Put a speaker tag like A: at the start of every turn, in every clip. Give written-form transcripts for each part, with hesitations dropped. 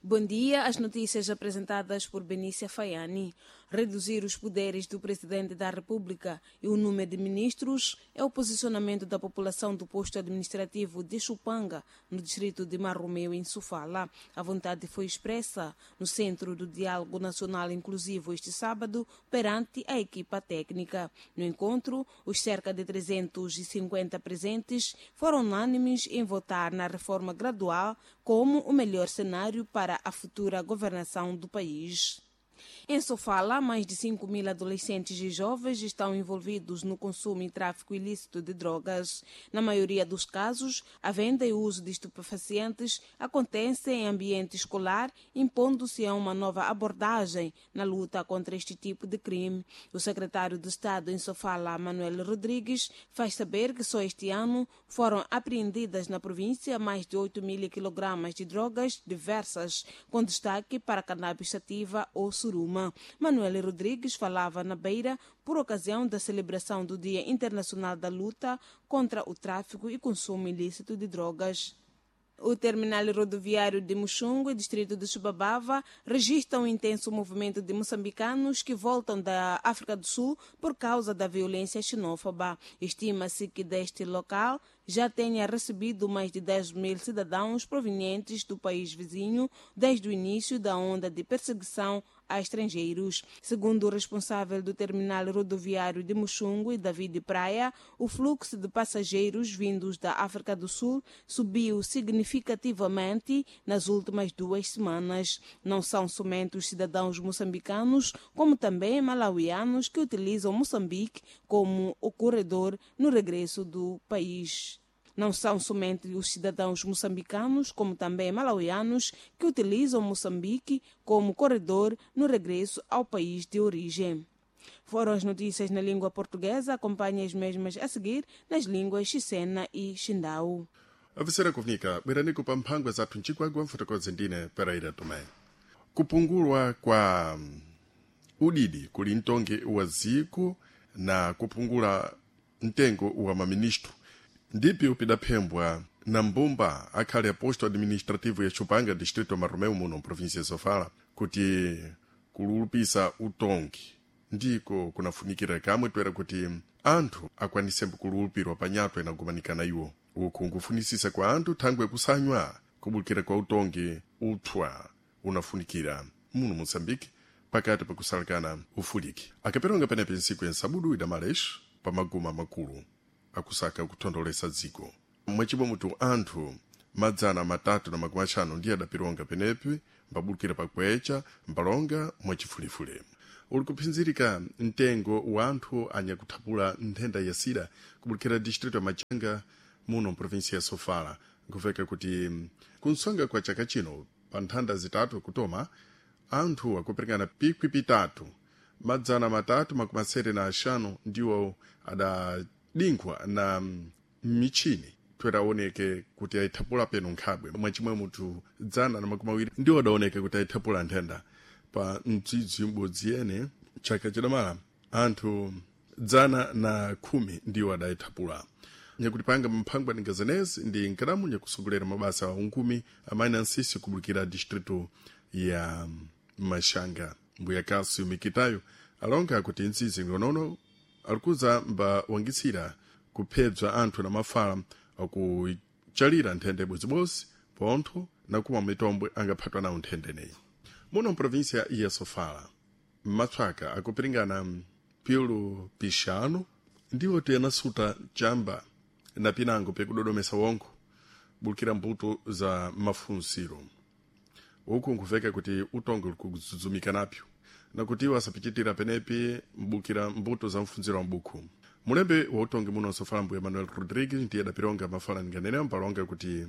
A: Bom dia. As notícias apresentadas por Benícia Faiani. Reduzir os poderes do Presidente da República e o número de ministros é o posicionamento da população do posto administrativo de Chupanga, no distrito de Marromeu, em Sofala. A vontade foi expressa no Centro do Diálogo Nacional Inclusivo este sábado perante a equipa técnica. No encontro, os cerca de 350 presentes foram unânimes em votar na reforma gradual como o melhor cenário para a futura governação do país. Em Sofala, mais de 5 mil adolescentes e jovens estão envolvidos no consumo e tráfico ilícito de drogas. Na maioria dos casos, a venda e o uso de estupefacientes acontecem em ambiente escolar, impondo-se a uma nova abordagem na luta contra este tipo de crime. O secretário de Estado em Sofala, Manuel Rodrigues, faz saber que só este ano foram apreendidas na província mais de 8 mil quilogramas de drogas diversas, com destaque para cannabis sativa ou suruma. Manuel Rodrigues falava na Beira por ocasião da celebração do Dia Internacional da Luta contra o Tráfico e Consumo Ilícito de Drogas. O terminal rodoviário de Muxungue, distrito de Chibabava, registra um intenso movimento de moçambicanos que voltam da África do Sul por causa da violência xenófoba. Estima-se que deste local já tenha recebido mais de 10 mil cidadãos provenientes do país vizinho desde o início da onda de perseguição a estrangeiros. Segundo o responsável do terminal rodoviário de Muxungue, David Praia, o fluxo de passageiros vindos da África do Sul subiu significativamente nas últimas 2 semanas. Não são somente os cidadãos moçambicanos, como também malauianos que utilizam Moçambique como o corredor no regresso do país. Não são somente os cidadãos moçambicanos, como também malauianos, que utilizam Moçambique como corredor no regresso ao país de origem. Foram as notícias na língua portuguesa, acompanhe as mesmas a seguir nas línguas Xicena e Xindau.
B: Avisera kufunika bwerani pa mphangwa zathu mchigwagwa mfotokozi ndine Pereira Tomé. Kupungulwa kwa udidi kuli mtongi wa ziko na kupungula mtengo wa maministro ndipi upidaphembwa na mbumba akhale aposto administrativo ya Chupanga, distrito Marromeu, muno província ya Sofala, kuti kululupisa utongi ndiko kunafunikira kamwe toera kuti anthu akwanisembo kululupirwa panyatwa inagumanikana iwo. Uku nkufunisisa kwa anthu thangwe kusanywa kubulukira kwa utongi uthwa unafunikira muno Moçambique pakati pakusalekana ufuliki. Akaperonga penepe nsiku ya nsabudu idamalex pa maguma makulu akusaka kuthondolesa dziko. Mwachibwa mutu anthu 350 ndiye adapironga penepe mbabulukira pakwecha mbalonga mwachifulifule. Uli kuphinzirika mtengo wa anthu anyakuthapula nthenda ya sida kubulukira distrito ya Machanga muno mprovinsia ya Sofala. Nkuveka kuti kunsonga kwa chaka chino pa nthanda zitatu kutoma anthu akuperekana pikwi pitatu 375 ndiwo adadinkhwa na michini tweraoneke kuti ayithapula peno nkhabwe. Mwachimwe munthu 120 ndiwo adaoneke kuti ayithapula nthenda pa mdzidzi m'bodzi yene chaka chidamala anthu 110 ndiwo adayithapula. Nyakuti panga mphangwa ningazenezi ndi nkadamu nyakusogolera mabasa a unkumi amayi ansisi kubulukira distrito ya Mashanga. Mbuya Cássio Mikitayo alonga kuti ntsizi ngonono alikuza mbawangitsira kuphedzwa anthu na mafala akuchalira nthenda ibodzi pontho na kumwa mitombwe angaphatwa nawo nthenda ineyi. Muno mprovinsia ya Sofala matswaka akupiringana pilu pixanu ndiwo tiyanasuta chamba na pinango pyakudodomesa wongo bulukira mbuto za mafunsiro. Uku nkuveka kuti utongo likuzuzumika napyo nakuti iwo asapichitira penepi mbukira mbuto za mfunziro wa mbuku. Mulembe wa utongi muno Sofala mbuya Manuel Rodrigues ndiye adapironga mafala ninganene mpalonga kuti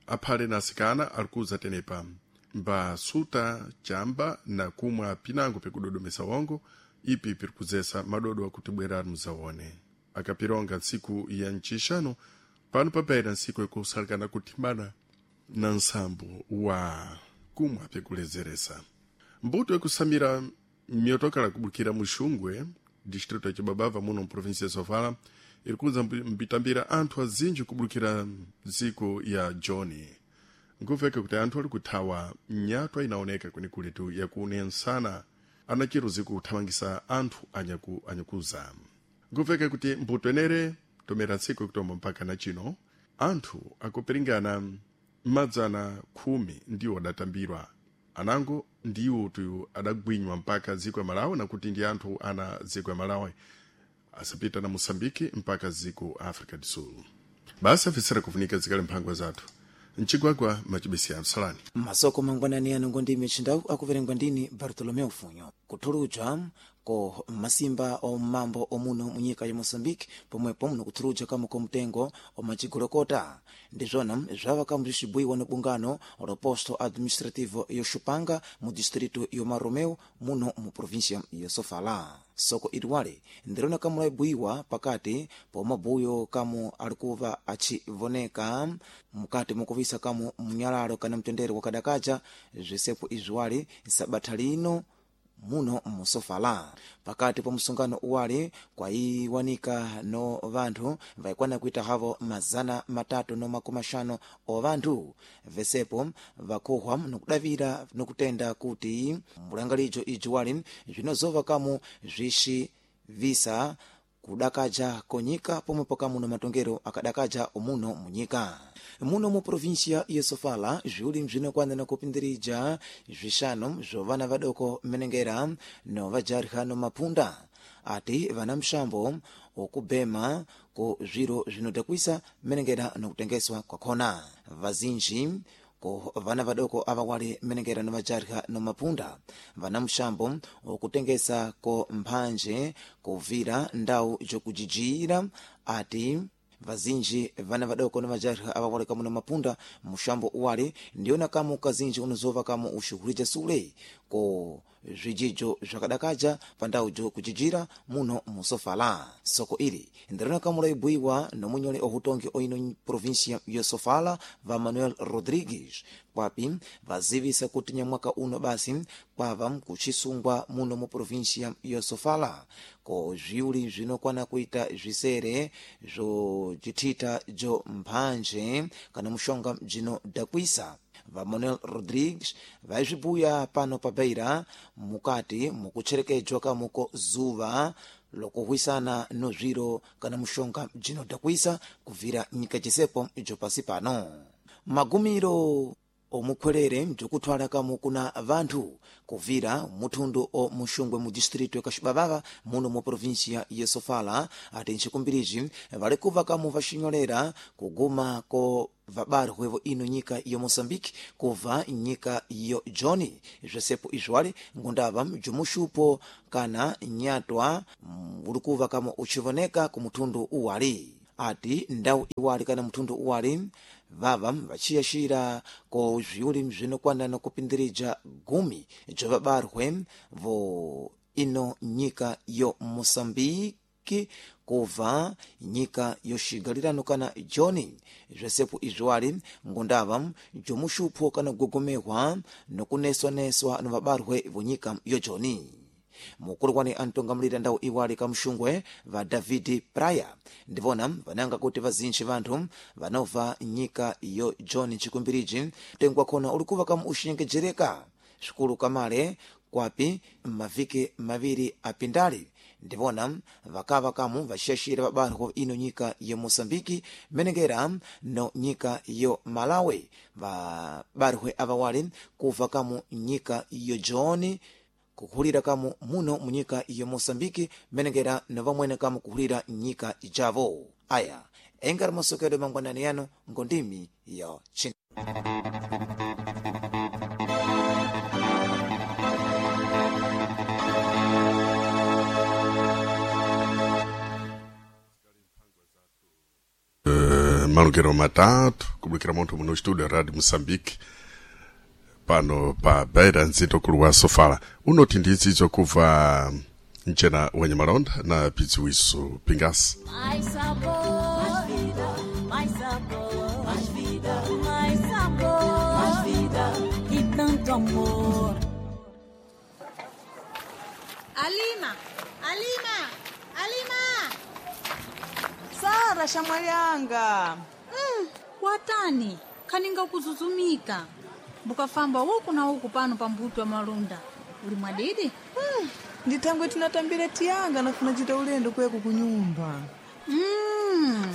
B: aphale na asikana alikuza tenepa mbasuta chamba na kumwa pinango pyakudodomesa wongo ipi pirikuzesa madodo akuti bwerani muzaone. Akapironga ntsiku ya ncixano pano papaira ntsiku yakusalikana kuthimbana na nsambo wa kumwa pyakulezeresa. Mbuto yakusamira myotokala kubulukira Muxungwe, distrito ya Chibabava muno mprovinsia ya Sofala, irikuza mbitambira anthu azinji kubulukira dziko ya Joni. Nkuveka kuti anthu ali kuthawa nyatwa inaoneka kwenekuletu yakunensana anachiruzi kuthamangisa anthu anyakuza. Nkuveka kuti mbuto enere tomera tsiku kutombo mpaka na chino anthu akupiringana 110 ndiwo adatambirwa anango ndiwo tu adagwinywa mpaka dziko ya Malawi nakuti ndi anthu ana dziko ya Malawi asapita na Moçambique mpaka dziko Africa do Sul. Basi afisira kufunika zikale mphangwa zathu mchigwagwa machibesi amsalani
C: masoko mangwanani ano ngondime chindau akuverengwa ndini Bartolomeu Funyo. Kuthuluja ko masimba omambo omuno munyika ya Moçambique pomwepo muno kuthuluja kamo komtengo omachigolokota ndizvona zvava kamuzvixibwiwa no bungano lo posto administrativo yo Xupanga mu distrito yo Maromeu muno mu província ya Sofala. Soko iliwale ndirona kamulaibwiwa pakati pomabuyo kamu alikuva achivoneka mukati mukuvisa kamu mnyalalo kana mtendere wakadakaja zvisepo izviwali sabatha lino muno musofala. Pakati pa msungano uwali kwaiwanika no vanthu vaikwana kuita havo 350 o vanthu vesepo vakuhwa nokudavira nokutenda kuti mulangalijo iji wali zvinozova kamu zvixivisa kudakaja konyika pomwepo kamuno matongero akadakaja omuno munyika. Muno mu província ya Sofala zviuli bzinokwana na kupindirija zvixanu zvo vana vadoko menengera no vajarha no mapunda ati vana mxambo okubema ku zviro zvinodhakwisa menengera nokutengeswa kwakhona. Vazinji ko vana vadoko avawali menengera no vajarha no mapunda vana mxambo okutengesa ko mphanje kuvira ndau jokujijira ati vazinji vana vadoko no vajarha avawali kamu na mapunda muxambo uwali ndiona kamu kazinji unozova kamu uxuhulija sule ko zvijijo zvakadakaja pandau jokujijira muno musofala. Soko ili ndirona kamu laibwiwa nomunyole ohutongi oino província ya Sofala va Manuel Rodrigues kwapi vazivisa kuti nyamwaka uno basi kwava kuxisungwa muno mu província ya Sofala ko zviuli zvinokwana kuita zvisere zvo jithita jo mphanje kana muxonga bzinodhakwisa. Va Manuel Rodrigues vaizvibuya pano pa Beira mukati mukucherekedzwa kamuko zuva lokuhwisana no zviro kana muxonga bzinodhakwisa kubvira nyika jisepo jopasi pano. Magumiro omukhwerere bzikuthwala kamu kuna vanthu kuvira muthundu o muxungwe mu distrito ya Kaxibavava muno mu província ya Sofala ati nxikumbiriji vali kuva kamu vaxinyolera kuguma ko vabarwe vo ino nyika ya Moçambique kuva nyika yo Joni zvesepo izwali ngundava bzumuxupo kana nyatwa ulikuva kamu ucivoneka ku muthundu uwali ati ndau iwali kana muthundu uwali vava vaciyaxira ko zviuli bzinokwana na kupindirija 10 bza vabarwe vo ino nyika yo Moçambique kuva nyika yoxigalirano kana Joni zvesepo izviwali ngundava bzomuxupho kana kugogomehwa nokuneswaneswa no vabarwe vo nyika yo Joni. Mukulu antongamulira ndau iwali kamuxungwe va David Praya ndivona vananga kuti vazinji vanthu vanobva nyika yo John chikumbiriji tengwa khona ulikuva kamu uxinyengejereka svikulu kamale kwapi maviki maviri apindali ndivona vakava kamu vaxiyaxira vabarwa ino nyika ya Moçambique menengera no nyika yo Malawi vabarwe avawali kuva kamu nyika yo John kuhulira kamu muno munyika ya Moçambique menengera na vamwene kamu kuhulira nyika ijavo. Aya engari masokedo mangwanani yano ngondimi ya chin.
B: Malukero matatu kubukira munthu muno studio Radio Moçambique pano pa Beira nzito kulu wa Sofala unoti ndidzidzo kubva mchena wanyamalonda na pidziwiso pingasi.
D: Mais sabor, mais vida, mais sabor, mais vida, mais sabor, mais vida e tanto amor.
A: Alima, Alima, Alima!
E: Sara shamwali yanga
D: Watani?
E: Khaninga kuzuzumika. Mbukafamba uku na uku pano pa mbuto wa malunda. Uli mwadidi?
F: Ndithangwe tinatambira tiyanga nafuna chita ulendo kuyako kunyumba.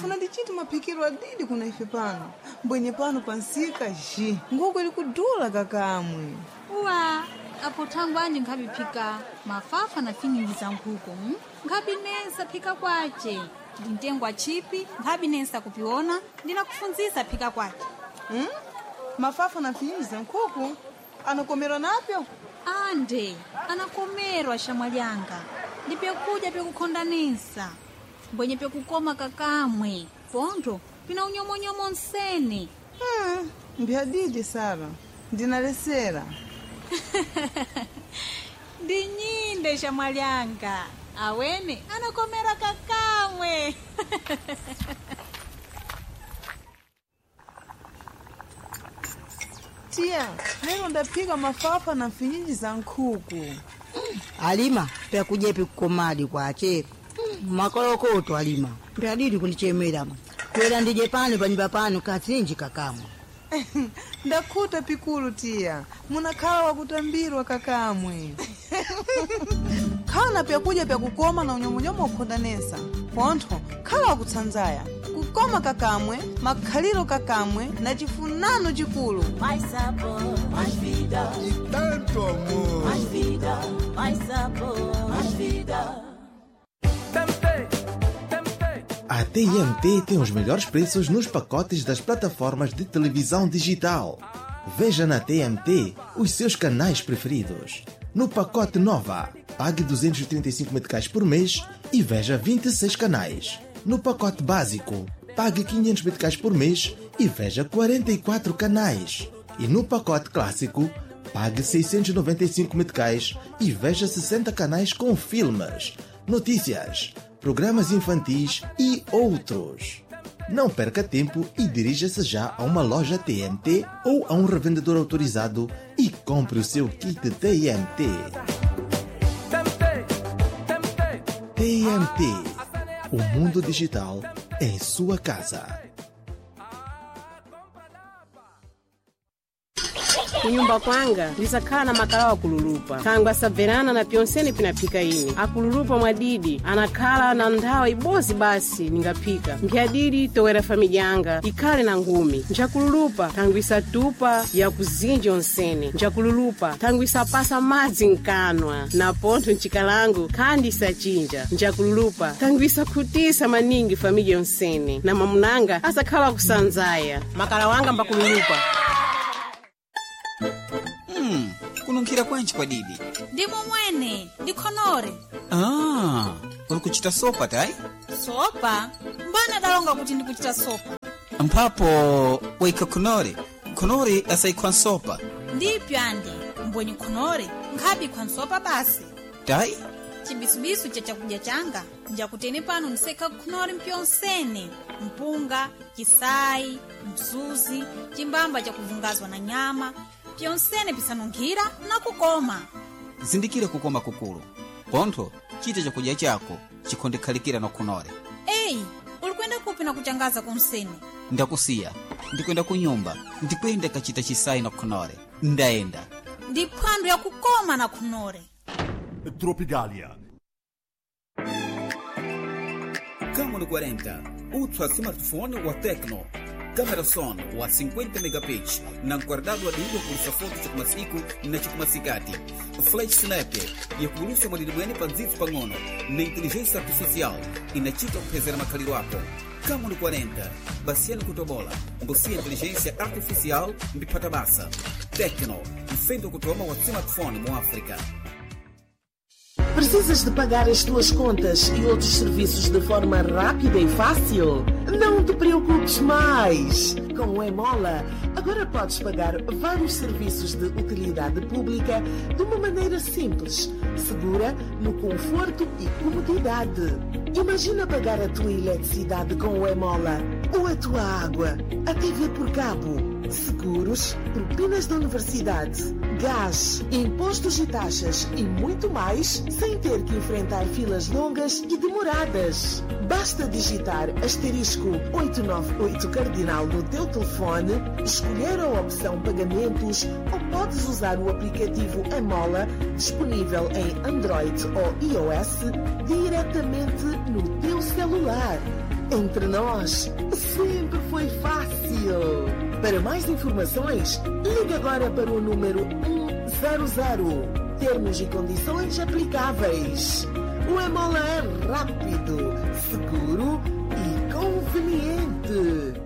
F: Funa ndichiti maphikiro adidi kuna ife pano. Mbwenye pano pansika ji. Nguku ili kudula kakamwe.
E: Uwa, apo thangwe anje nkhapiphika mafafa na finyingi za nkhuku. Nkhabinesa phika kwace. Ndintengwa chipi, nkhabinesa kupiona, ndinakufunzisa phika kwace.
F: Mafafa na finyingi za nkhuku anakomerwa napyo?
E: Ande, anakomerwa shamwalyanga. Ndi pyakuja pyakukhondanisa. Mbwenye pyakukoma kakamwe. Pontho, pina unyomonyomo nsene.
F: Mbyadidi Sara, ndinalesera.
E: Ndi nyinde shamwalyanga. Awene anakomera kakamwe.
F: Tiya, lero ndaphika mafafa na mfinyinji za nkhuku.
G: Alima pyakuja pikukomadi kwache makolokoto alima pyadidi kundichemera kwera ndije pano panyumba pano katsinji kakamwa.
F: Ndakhuta pikulu tiya, munakhala wakutambirwa kakamwe. Khala na pyakuja pyakukoma na unyomonyomo ukhondanesa. Pontho khala wakutsanzaya kukoma kakamwe, makhaliro kakamwe na chifunano chikulu.
D: Mais sabor, mais vida.
B: E tanto amor.
D: Mais vida, mais sabor, mais vida.
H: A TMT tem os melhores preços nos pacotes das plataformas de televisão digital. Veja na TMT os seus canais preferidos. No pacote Nova, pague 235 meticais por mês e veja 26 canais. No pacote básico, pague 500 meticais por mês e veja 44 canais. E no pacote clássico, pague 695 meticais e veja 60 canais com filmes, notícias, programas infantis e outros. Não perca tempo e dirija-se já a uma loja TMT ou a um revendedor autorizado e compre o seu kit TMT. TMT. O mundo digital em sua casa.
I: Kunyumba kwanga ndisakhala na makalawa akululupa thangwe asabverana na pyonsene pinaphika ine akululupa mwadidi anakhala na nthawi ibozi basi ningaphika mphyadidi towera famidya yanga ikhale na ngumi njakululupa thangwe isatupa yakuzinja onsene njakululupa thangwe isapasa madzi mkanwa na pontho mchikalangu khandi isachinja njakululupa thangwe isakhutisa maningi famidya yonsene na mamunanga asakhala kusanzaya makala wanga mbakululupa.
J: Kununkhira kwanji kwa didi?
E: Ndi mumwene, ndi khonore.
J: Ah, uli kuchita sopa tayi?
E: Sopa? Mbana dalonga kuti ndikuchita sopa.
J: Mphapo waikha khonore. Khonore asayikhwa nsopa.
E: Ndipyo ande, mbwenye khonore, nkhabi nsopa basi.
J: Tayi?
E: Chibisubisu cha chakudya changa, njakutene pano ndisekha khonore mpyonsene. Mpunga, chisayi, mzuzi, chimbamba chakuvungazwa na nyama, pyonsene pisanunkhira na kukoma.
J: Zindikira kukoma kukulu. Pontho, chita chakudya chako chikhondekhalikira na khonore.
E: Eyi, uli kuyenda kupi na kuchangaza kunsene?
J: Ndakusiya, ndikwenda kunyumba, ndikwenda kachita chisayi na khonore. Ndayenda.
E: Ndi phwando yakukoma na khonore.
K: Tropicalia.
J: Camon 40, ultra smartphone wa Tecno. Câmera son wa 50 megapixels, na guardado adilho por foto chakumasiku na chakumasikati. Flash snap yakulusa mwadidibwene pa ndzitsu pang'ono na inteligência artificial inachita kuphezera makhaliro ako. Camon 40, basiyani kutobola, ngosiya inteligência artificial mbiphata basa. Tecno, mfendo kutoma wa smartphone mu África.
L: Precisas de pagar as tuas contas e outros serviços de forma rápida e fácil? Não te preocupes mais! Com o Emola, agora podes pagar vários serviços de utilidade pública de uma maneira simples, segura, no conforto e comodidade. Imagina pagar a tua eletricidade com o Emola, ou a tua água, a TV por cabo. seguros, propinas da universidade, gás, impostos e taxas e muito mais, sem ter que enfrentar filas longas e demoradas. Basta digitar asterisco 898 cardinal no teu telefone, escolher a opção pagamentos ou podes usar o aplicativo Emola, disponível em Android ou iOS, diretamente no teu celular. Entre nós, sempre foi fácil. Para mais informações, ligue agora para o número 100. Termos e condições aplicáveis. O Emola é rápido, seguro e conveniente.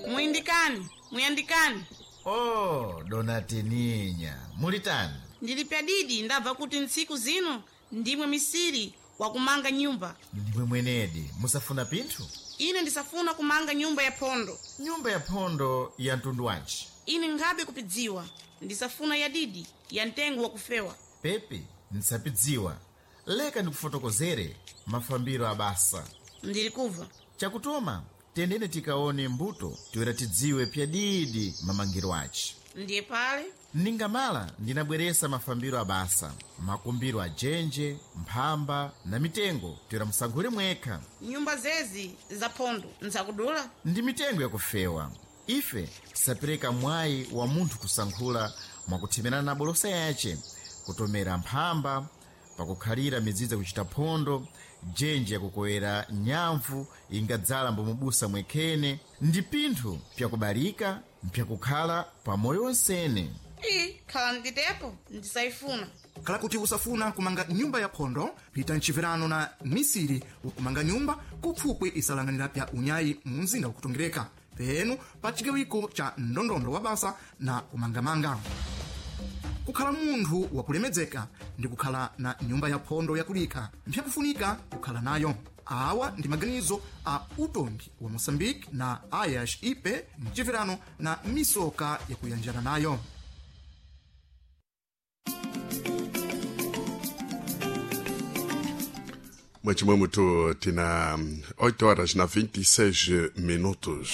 M: Muindikani, muyandikani.
H: Oh, dona Teninya, mulitani?
M: Ndili pyadidi ndabva kuti ntsiku zino ndimwe misiri wakumanga nyumba.
H: Ndimwe mwenedi, musafuna pinthu?
M: Ine ndisafuna kumanga nyumba ya phondo.
H: Nyumba ya phondo ya mtundu wanji?
M: Ine ngabe kupidziwa, ndisafuna ya didi ya mtengo wakufewa.
H: Pepi, ndisapidziwa. Leka ndikufotokozere mafambiro abasa.
M: Ndili kubva.
H: Chakutoma, tendene tikaone mbuto toera tidziwe pyadidi mamangiro aci.
M: Ndiye pale
H: Ningamala ndinabweresa mafambiro abasa, makumbiro ajenje, mphamba na mitengo toera musankhule mwekha.
M: Nyumba zezi za phondo nzakudula.
H: Ndi mitengo yakufewa. Ife tisapereka mwayi wa munthu kusankhula mwakuthemerana na bolosa yace, kutomera mphamba, pakukhalira midzidzi kuchita phondo, jenje yakukowera nyamvu ingadzala mbomubusa mwekhene, ndi pinthu pyakubalika mpyakukhala pamoyo wonsene.
M: Iyi khala nditepo ndisayifuna.
N: Khala kuti usafuna kumanga nyumba ya phondo, pita mchiverano na misiri wakumanga nyumba kupfupwi isalanganira pya unyayi mu mzinda wakutongereka penu pa chigawiko cha ndondondo wa basa na kumangamanga. Kukhala munthu wakulemedzeka ndi kukhala na nyumba ya phondo yakulika mpyakufunika kukhala nayo. Awa ndi maganizo a utongi wa Moçambique na ayas ipe mchiverano na misoka yakuyanjana nayo.
B: Mwachimwe mutu tina 8 horas na 26 minutos.